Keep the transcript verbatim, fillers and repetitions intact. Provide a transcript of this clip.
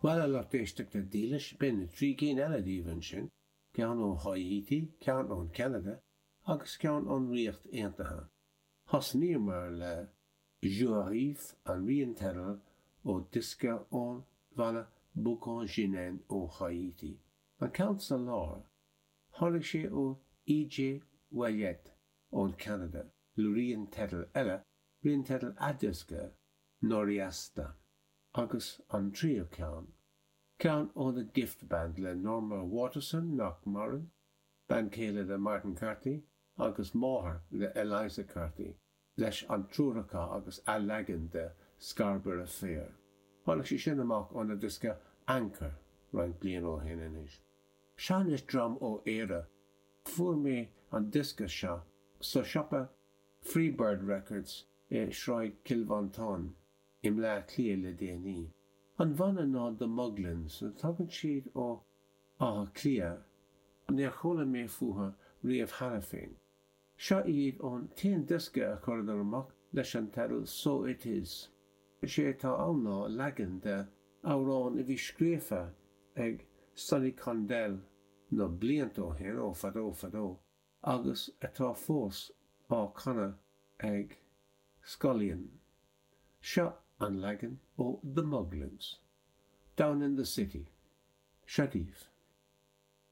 Bhuel, a lucht éisteachta dílis, b'in trí cinn eile daoibh ansin, ceann ó Háítí, ceann ón Cheanada agus ceann ón Ríocht Aontaithe. Thosnaíomar le Jou Ariv, an rian teidil ó diosca ón bhanna Boukan Ginen ó Háítí. An ceann sa lár, tháinig sé ó E.J. Ouellette ón Cheanada, le rian teidil eile, rian teidil a diosca, Noriasta. Agus an tríú ceann, ceann ó The Gift Band le Norma Waterson nach maireann, bean chéile le Martin Carthy agus máthair le Eliza Carthy, leis an triúr acu agus a leagan de Scarborough Fair. Tháinig sé sin amach óna diosca Anchor roinnt bliain ó shin anois. Seo anois dream ó Éire. Fuair mé an diosca seo sa siopa Freebird Records i Sráid Chill Mhantáin i mBleá Cliath le déanaí. An banna ná The Muglins, tagann siad ó Áth Cliath, níor chuala mé fúthu riamh cheana féin. Seo iad ón t-aon diosca a chuireadar amach leis an teideal So It Is. Is é atá ann ná leagan de amhrán a bhí scríofa ag Sonny Condell na blianta ó shin, ó fadó fadó, agus atá fós á chanadh ag Scullion. Seo an leagan ó The Muglins. Down in the City. Seo daoibh.